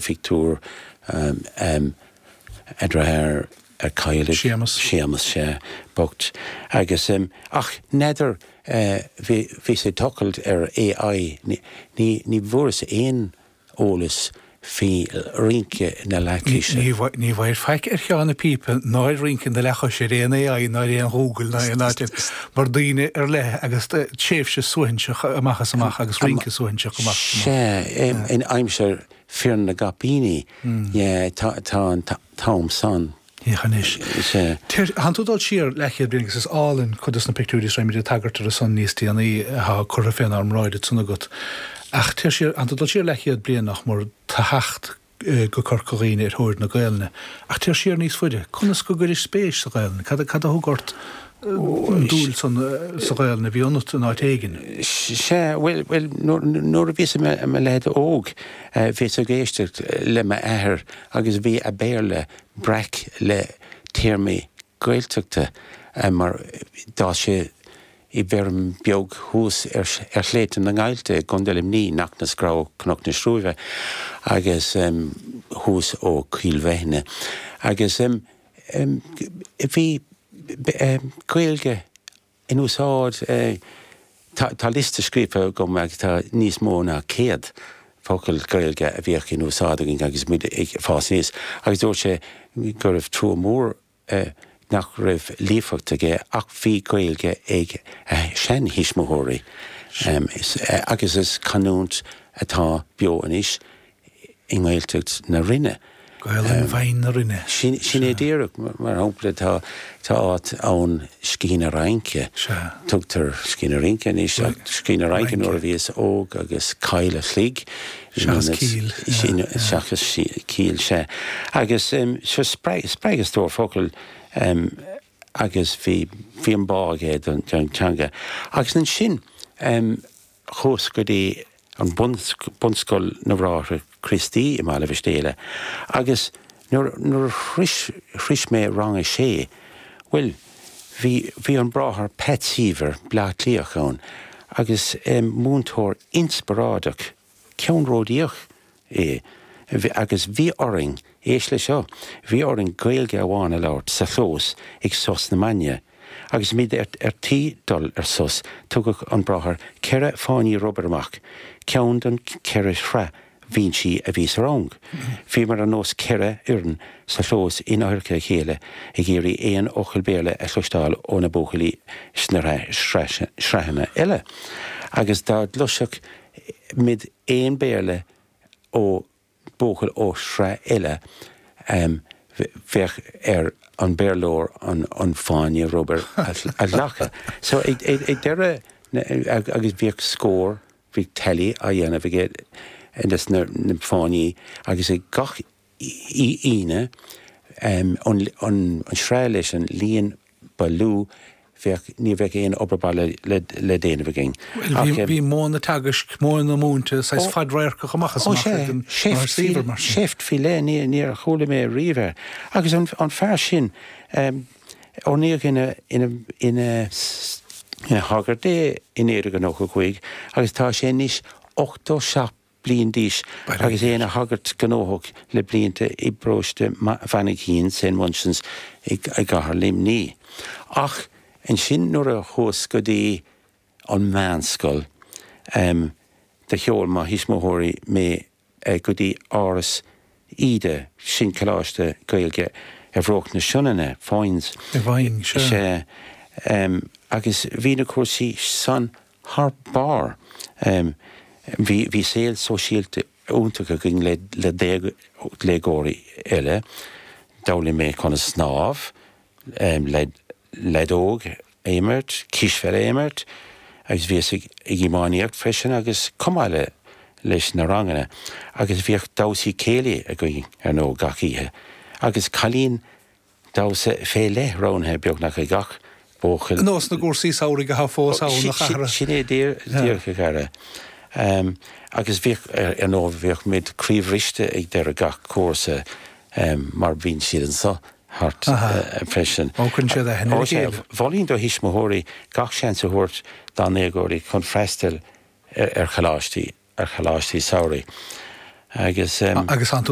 Phictiúr a deartháir a cailleadh. Séamus. Séamus, sea, bocht. Agus, ach n'fheadar, bhíos ag tochailt ar AI, ní, ní bhfuaireas aon eolas faoi rince na leathchoise. Ní, ní bhfaighir faic ar Sheán na Pípe ná ar rince na leathchoise ar aon AI ná ar aon Ghoogle ná aon áit eile, mar daoine ar leith agus tréimhse suaithinseach amach is amach agus rince suaithinseach amach is amach. Sea, in aimsir Fir na gCaipíní, yeah, tá an t-am san. Féach anois. Sea. Tánn tú ag dul siar leathchéad bliain agus is álainn cuid dos na pictiúirí is raghaimid ag tagairt orthu san níos déanaí atá curtha fénár mbráid ansan agat. Ach téir siar, tánn tú ag dul siar leathchéad bliain nach mór, tá theacht go Corca Dhuibhne ar thóir na Gaelainne. Ach téir siar níos faide, conas go gcuiris spéis sa Ghaelainn? Cad a thug ort an dúil san sa Ghaelainn a bhí ionat in áit éigin? Sea, bhuel, bhuel, nuair a bhíos i mo leaid óg, bhíos ag éisteacht le m'athair agus bhí a Béarla breac le téarmaí Gaeltachta mar d'fhás sé i bhfeirm beag thuas ar Shléibhte na nGaillte i gContae Luimnigh, Knocknascrow, Cnoc na Srúibhe, agus thuas ó Choill Bheithne. Agus bhí Gaeilge in úsáid, tá liosta scríofa agam agus tá níos mó ná 100 focal Gaeilge a bhíodh in úsáid againn agus muid ag fás aníos agus dúirt sé go raibh trua mór nach raibh líofacht aige ach bhí Gaeilge ag a sheantuismitheoirí agus is canúint atá beo anois i nGaeltacht na Rinne. Gaelainn bhinn na Rinne. Sin é díreach. Mar shampla, tá áit ann Sciath na Raince. Tugtar Sciath na Rince anois ach Sciath na Raince nuair a bhíos óg agus Coill a' Chloig. Seachas Cill. Seachas Cill, sea. Agus seo spreag a stór focal agus bhí bhí an bá aige don teanga. Agus ansin chuas go dtí an Bunscoil na mBráithre Críostaí i mBaile Mhistéala agus nuair nuair a shrois shrois mé rang a sé, bhuel, bhí bhí an Bráthair Pat Seaver, Bleá Cliathach ann agus múinteoir inspioráideach, ceannródaíoch é agus bhí orainn, éist le seo, bhí orainn Gaeilge amháin a labhairt sa chlós ag sos na maidne. Agus muid ar tí dul ar sos, tugadh an bráthair 4 fáinní rubair amach, ceann don cheithre shraith bhinsí a bhí sa rang. Bhíomar ar nós 4 fhoireann sa chlós in adharca a chéile ag iarraidh aon fhocal Béarla a chloisteáil ó na buachaillí sna sraitheanna eile. Agus dá gcloisfeadh muid aon Béarla ó buachaill ó shraith eile, bheadh ar an Béarlóir an fáinne rubair a ghlacadh. So ag deireadh agus bhíodh scór, bhíodh tally á dhéanamh aige des na fáinní agus ag gach Aoine, an sraith leis an líon ba lú, bheadh, ní bheadh aon obair baile le déanamh againn. Bhuel, bhí modh na teagaisc, modh na múinte, saghas fadradharcach amach is amach ag an Bráthair Seaver, mar sin. Seift faoi leith, níor chuala mé riamh é. Agus an fear sin, oirníodh ina, ina, ina shagart é i 1995 agus tá sé anois 87 bliain d'aois agus é ina shagart gnóthach le blianta i bparóiste Mhainchín, Saint Munchin's, i gcathair Luimnigh. Ach ansin nuair a chuas go dtí an mheánscoil, do sheol mo thuismitheoirí mé go dtí Áras Íde, sin coláiste Gaeilge ar bhruach na Sionainne, Foynes. I bhFaing, sea. Sea. Agus bhí na cúrsaí san thar barr. Bhí bhí saol sóisialta iontach againn le le déagóirí eile. D'fhoghlaim mé conas snámh, lead leadóg a imirt, cispheil a imirt agus bhíos ag ag iománaíocht freisin agus chomh maith le leis na ranganna agus bhíodh damhsaí céilí againn ar ndóigh gach oíche agus cailín Damhsa fé leith roghnaithe beagnach ag gach buachaill. Nós na gcúrsaí samhraidh atá fós ann, a chara. Sin é díreach, a chara. Agus bhíodh, ar ndóigh, bhíodh muid croíbhriste ag deireadh gach cúrsa mar bíonn siad anso thart freisin. Ó, cuireann siad aithne ar a chéile. Mholfainn do thuismitheoirí gach seans a thabhairt dá ndéagóirí chun freastal ar choláistí. ar choláistí samhraidh. Agus. Agus tánn tú.